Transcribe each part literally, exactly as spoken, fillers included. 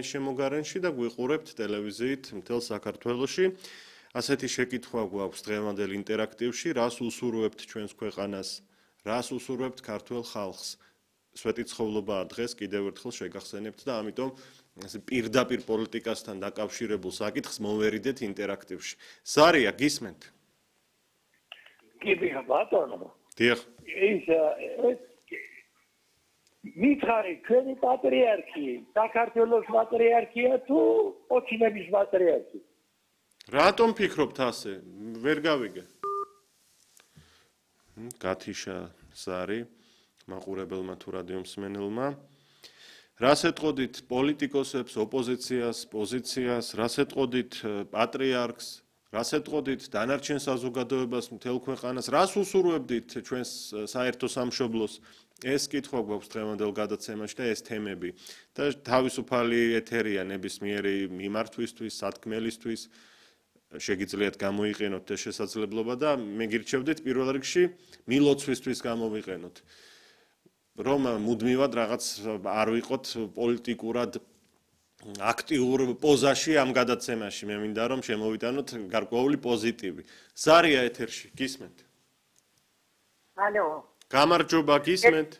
შემოგარენში და გვიყურებთ ტელევიზიით მთელ საქართველოში. ასეთი შეკითხვა გვაქვს დღევანდელ ინტერაქტივში, რას უსურვებთ ჩვენს ქვეყანას, რას უსურვებთ ქართულ ხალხს. სვეტიცხოვლობაა დღეს კიდევ ერთხელ შეგახსენებთ და ამიტომ პირდაპირ პოლიტიკასთან დაკავშირებულ საკითხს მოვერიდეთ ინტერაქტივში. ზარია, გისმენთ? კი, ბატონო. დიახ. ის მითხარი ჩვენი პატრიარქი, საქართველოს პატრიარქია თუ ოჩინების პატრიარქი? რატომ ფიქრობთ ასე? ვერ გავიგე. გათიშა ზარი, მაყურებელმა თუ რადიო მსმენელმა. რას ეტყოდით პოლიტიკოსებს, ოპოზიციას, პოზიციას, რას ეტყოდით პატრიარქს, რას ეტყოდით დანარჩენ საზოგადოებას, მთელ ქვეყანას, რას უსურვებდით ჩვენს საერთო სამშობლოს? ეს კითხვა გვაქვს დღევანდელ გადაცემაში და ეს თემები და თავისუფალი ეთერია ნებისმიერი მიმართვისთვის, სათქმელისთვის შეგიძლიათ გამოიყენოთ ეს შესაძლებლობა და მე გირჩევდით პირველ რიგში მილოცვისთვის გამოვიყენოთ. რომ მუდმივად რაღაც არ ვიყოთ პოლიტიკურად აქტიურ პოზაში ამ გადაცემაში, მე მინდა რომ შემოვიტანოთ გარკვეული პოზიტივი. ზარია ეთერში, გისმენთ? ალო. გამარჯობა, გისმენთ?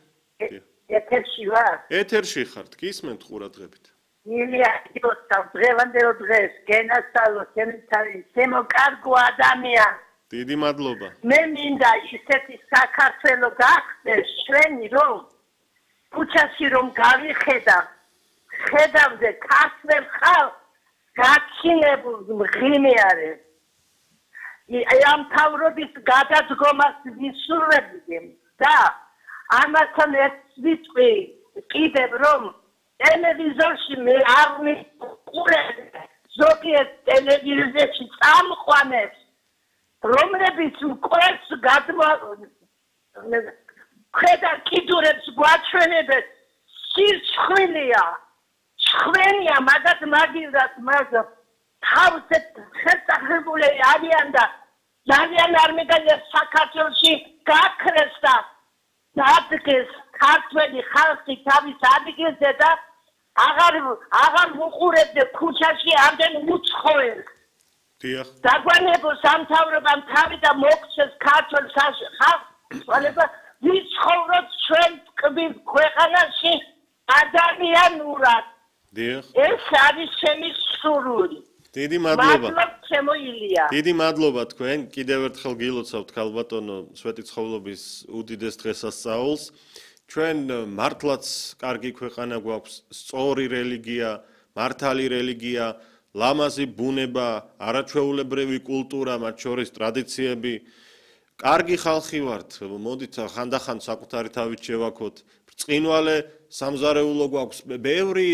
ეთერში ვარ? ეთერში ხართ, გისმენთ ყურადღებით. ილია, იოსტა, დღევანდელ დღეს გენასწავლო ჩემთან, შემოკარგო ადამიანი. დიდი მადლობა. მე მინდა ისეთი საქართველო გახდეს ჩვენი, რომ ქუჩაში რომ გავიხედავ, ხედავდე ქართველ ხალხს გაჩინებულ მღიმეარე. ამ თავრობის გადადგომას ვისურვებდი და ამასთან ერთ ვიტყვი კიდევ რომ ტელევიზორში მე არ მიყურებ ზოგიერთ ტელევიზორში წამყვანებს რომლებიც უკრეს გადმო ხედა კიდურებს გვაჩვენებენ სირცხვილია ხვენია მაგათ მაგილდას მაგა თავზე შესაძლებელი არიან და ძალიან არ მეგალია საქართველოში გაქრეს და ადგეს ქართველი ხალხი თავის ადგილზე და აღარ აღარ უყურებდა ქუჩაში ამდენ უცხოელს. დიახ. დაგვანებო სამთავრობამ თავი და მოგცეს ქართულ ხალხს ვიცხოვროთ ჩვენ ტკბილ ქვეყანაში ადამიანურად. დიახ. ეს არის ჩემი სურვილი. დიდი მადლობა. მადლობა ჩემო ილია. დიდი მადლობა თქვენ. კიდევ ერთხელ გილოცავთ ქალბატონო სვეტიცხოვლობის უდიდეს დღესასწაულს. ჩვენ მართლაც კარგი ქვეყანა გვაქვს, სწორი რელიგია, მართალი რელიგია, ლამაზი ბუნება, არაჩვეულებრივი კულტურა, მათ შორის ტრადიციები. კარგი ხალხი ვართ, მოდით ხანდახან საკუთარი თავით შევაქოთ. ბრწყინვალე სამზარეულო გვაქვს, ბევრი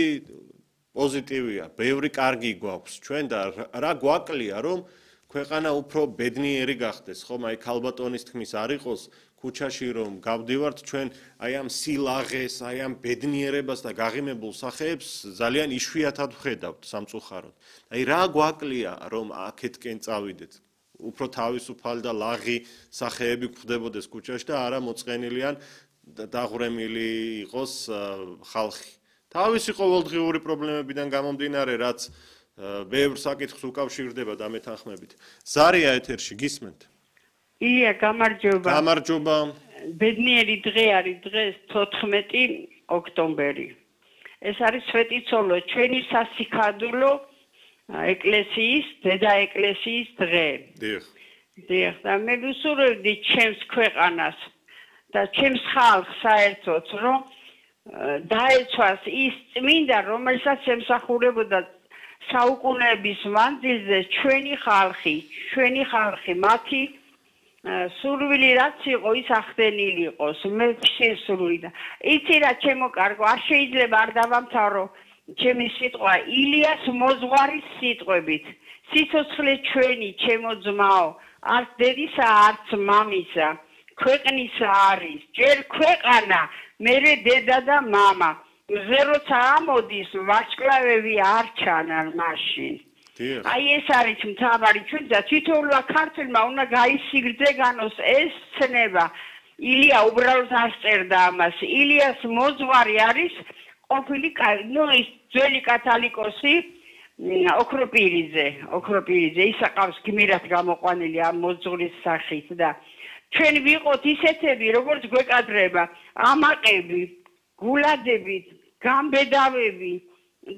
პოზიტივია, ბევრი კარგი გვაქვს ჩვენ და რა გვაკლია რომ ქვეყანა უფრო ბედნიერი გახდეს, ხომ აი ქალბატონის თქმის არ იყოს ქუჩაში რომ გავდივართ ჩვენ აი ამ სილაღეს, აი ამ ბედნიერებას და გაღიმებულ სახეებს ძალიან იშვიათად ვხედავთ სამწუხაროდ. აი რა გვაკლია რომ აქეთკენ წავიდეთ. უფრო თავისუფალი და ლაღი სახეები გვხდებოდეს ქუჩაში და არა მოწყენილიან დაღვრემილი იყოს ხალხი. თავისი ყოველდღიური პრობლემებიდან გამომდინარე, რაც ბევრ საკითხს უკავშირდება და მეთანხმებით. ზარია ეთერში, გისმენთ? ია, გამარჯობა. გამარჯობა. ბედნიერი დღე არის დღეს თოთხმეტი ოქტომბერი. ეს არის სვეტიცხოვლო, ჩვენი სასიქადულო ეკლესიის, დედა ეკლესიის დღე. დიახ. დიახ, და მე ვუსურვებდი ჩემს ქვეყანას და ჩემს ხალხს საერთოდ, რომ დაეცვას ის წმინდა, რომელსაც ემსახურებოდა საუკუნეების მანძილზე ჩვენი ხალხი, ჩვენი ხალხი, მათი სურვილი რაც იყო, ის ახდენილი იყოს, მე შესურვილი და იცი რა ჩემო კარგო, არ შეიძლება არ დავამთავრო ჩემი სიტყვა ილიას მოძღვარის სიტყვებით. სიცოცხლე ჩვენი, ჩემო ძმაო, არც დედისა, არც მამისა, ქვეყნისა არის, ჯერ ქვეყანა მერე დედა და მამა. მზე როცა ამოდის, ვარსკვლავები არ ჩანან მაშინ. აი ეს არის მთავარი ჩვენ და თითოეულმა ქართველმა უნდა გაისიგრძე განოს ეს ცნება. ილია უბრალოდ არ წერდა ამას. ილიას მოძღვარი არის ყოფილი ნუ ის ძველი კათალიკოსი ოქროპირიძე ოქროპირიძე ის აყავს გმირად გამოყვანილი ამ მოძღვრის სახით და ჩვენ ვიყოთ ისეთები როგორც გვეკადრება ამაყები გულადებით გამბედავები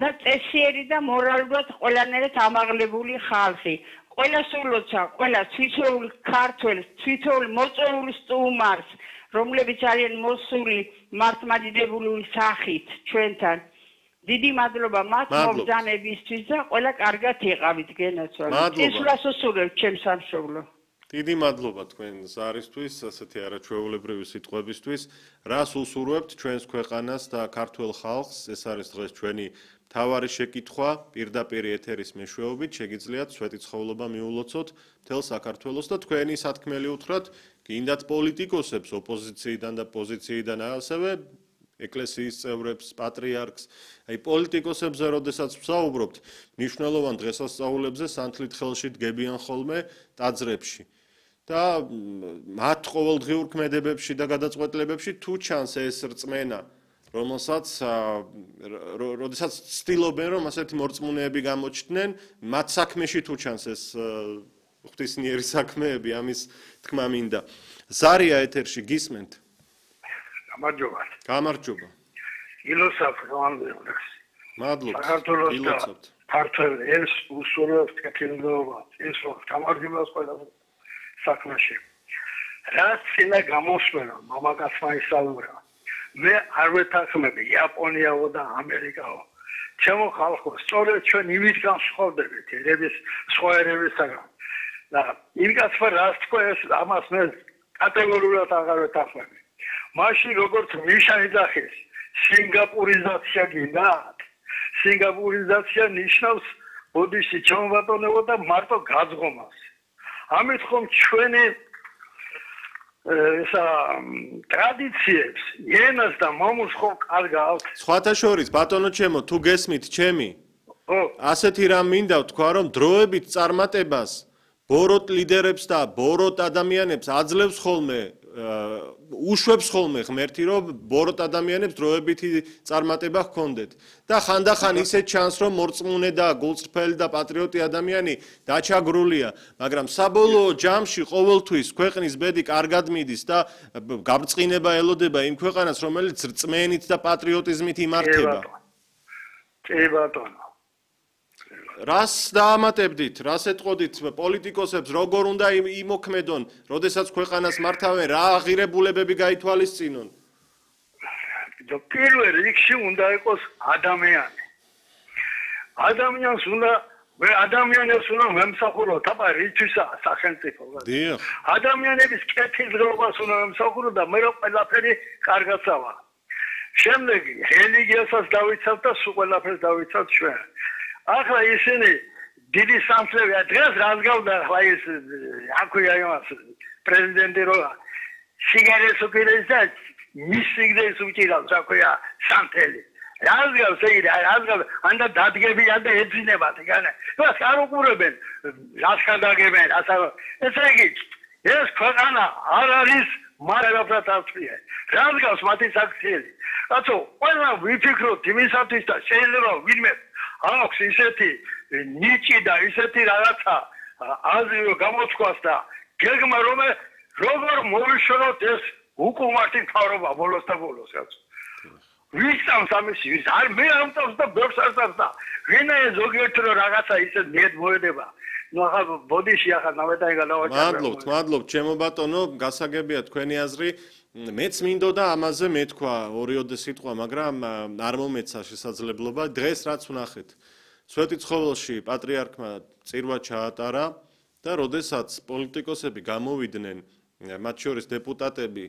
და წესიერი და მორალურად ყველანაირად ამაღლებული ხალხი ყველა სულოცა ყველა თვითოულ ქართველს თვითოულ მოწვეულ სტუმარს რომლებიც არიან მოსული მართლმადიდებლური სახით ჩვენთან დიდი მადლობა მათ მობრძანებისთვის და ყველა კარგად იყავით გენაცვალე ისურას უსურვებ ჩემს სამშობლო დიდი მადლობა თქვენ ზარისთვის ასეთი არაჩვეულებრივი სიტყვებისთვის რას უსურვებთ ჩვენს ქვეყანას და ქართულ ხალხს ეს არის დღეს ჩვენი მთავარი შეკითხვა პირდაპირ ეთერის მეშვეობით შეგიძლიათ სვეტიცხოვლობა მიულოცოთ მთელ საქართველოს და თქვენი სათქმელი უთხრათ გინდათ პოლიტიკოსებს ოპოზიციიდან და პოზიციიდან ასევე ეკლესიის წევრებს პატრიარქს აი პოლიტიკოსებზე როდესაც ვსაუბრობთ მნიშვნელოვან დღესასწაულებზე სანთლით ხელში დგებიან ხოლმე ტაძრებში და მათ ყოველდღიურ ქმედებებში და გადაწყვეტილებებში თუ ჩანს ეს რწმენა რომელსაც როდესაც ცდილობენ რომ ასეთი მორწმუნეები გამოჩნდნენ მათ საქმეში თუ ჩანს ეს ღვთისმიერი საქმეები ამის თქმა მინდა ზარია ეთერში გისმენთ გამარჯობა გამარჯობა ილოცავთ გამარჯობა მადლობა ილოცავთ ქართულ ელს უსურვებთ კეთილდღეობა ეს გამარჯობას ყველა საქმეში რაც წინა გამოსვენა მამაკაცმა ისაუბრა მე არ ვეთანხმები იაპონიაო და ამერიკაო ჩემო ხალხო სწორედ ჩვენ იმით განსხვავდებით ერების სხვა ერებისაგან და იმას რაც თქვა ეს ამას მე კატეგორიულად აღარ ვეთანხმები მაშინ როგორც ნიშანი დახეს სინგაპურიზაცია გინდათ სინგაპურიზაცია ნიშნავს ბოდიში ჩამოვატონებო და მარტო გაძღომას ამით ხომ ჩვენი ესა ტრადიციებს ენას და მომულს ხო კარგავთ სხვათა შორის ბატონო ჩემო თუ გესმით ჩემი ო ასეთი რამ მინდა ვთქვა რომ დროებით წარმატებას ბოროტ ლიდერებს და ბოროტ ადამიანებს აძლევს ხოლმე უშვებს ხოლმე ღმერთი რომ ბოროტ ადამიანებს დროებითი წარმატება ჰქონდეთ და ხანდახან ისე ჩანს რომ მორწმუნე და გულწრფელი და პატრიოტი ადამიანი დაჩაგრულია მაგრამ საბოლოო ჯამში ყოველთვის ქვეყნის ბედი კარგად მიდის და გაბრწყინება ელოდება იმ ქვეყანას რომელიც რწმენით და პატრიოტიზმით იმართება კი ბატონო რას დაამატებდით, რას ეტყოდით პოლიტიკოსებს, როგორ უნდა იმოქმედონ, როდესაც ქვეყანას მართავენ, რა აღირებულებები გაითვალისწინონ? პირველ რიგში უნდა იყოს ადამიანი. ადამიანს უნდა ადამიანებს უნდა მემსახუროთ, აბა რითვისაა სახელმწიფო. დიახ. ადამიანების კეთილდღეობას უნდა მემსახუროთ და მე რომ ყველაფერი კარგაცავა. შემდეგ რელიგიასაც დავიცავთ და სულ ყველაფერს დავიცავთ ჩვენ. ახლა ისინი დიდი სამსლევია დღეს რას გავდა ახლა ის აქვია იმას პრეზიდენტი რო სიგარეტს უკიდეს და მის სიგრეტს უჭირავს აქვია სამთელი რას გავს ეგ რას გავს ანდა დადგებიან და ეძინებათ იგანა მას არ უყურებენ რას ხანდაგებენ ასა ესე იგი ეს ქვეყანა არ არის მარაგაფრად ავწია რას გავს მათი საქციელი რაცო ყველა ვიფიქროთ იმისათვის და შეიძლება ვინმე აქვს ისეთი ნიჭი და ისეთი რაღაცა აზრი გამოთქვას და გეგმა რომ როგორ მოვიშოროთ ეს უკუმართი მთავრობა ბოლოს და ბოლოს რაც ვისწავს ამისი ვის არ მე ამწავს და ბევრს არსავს და ვინა ზოგიერთი რომ რაღაცა ისე მიედ მოედება ნუ ახლა ბოდიში ახლა ნავეტაი გადავაჭერე მადლობთ მადლობთ ჩემო ბატონო გასაგებია თქვენი აზრი მეც მინდოდა ამაზე მეთქვა ორიოდე სიტყვა მაგრამ არ მომეცა შესაძლებლობა დღეს რაც ვნახეთ სვეტიცხოველში პატრიარქმა წირვა ჩაატარა და როდესაც პოლიტიკოსები გამოვიდნენ მათ შორის დეპუტატები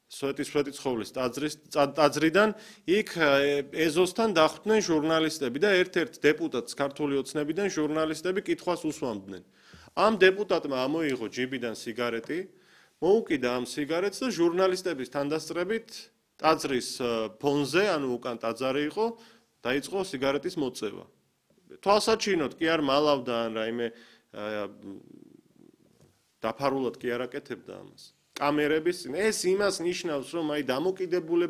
სვეტის სვეტიცხოვლის ტაძრის ტაძრიდან იქ ეზოსთან დახვდნენ ჟურნალისტები და ერთ-ერთ დეპუტატს ქართული ოცნებიდან ჟურნალისტები კითხვას უსვამდნენ ამ დეპუტატმა ამოიღო ჯიბიდან სიგარეტი მოუკიდა ამ სიგარეტს და ჟურნალისტების თანდასწრებით ტაძრის ფონზე, ანუ უკან ტაძარი იყო, დაიწყო სიგარეტის მოწევა. თვალსაჩინოდ კი არ მალავდა ან რაიმე დაფარულად კი არ აკეთებდა ამას. კამერების ეს იმას ნიშნავს, რომ აი დამოკიდებულება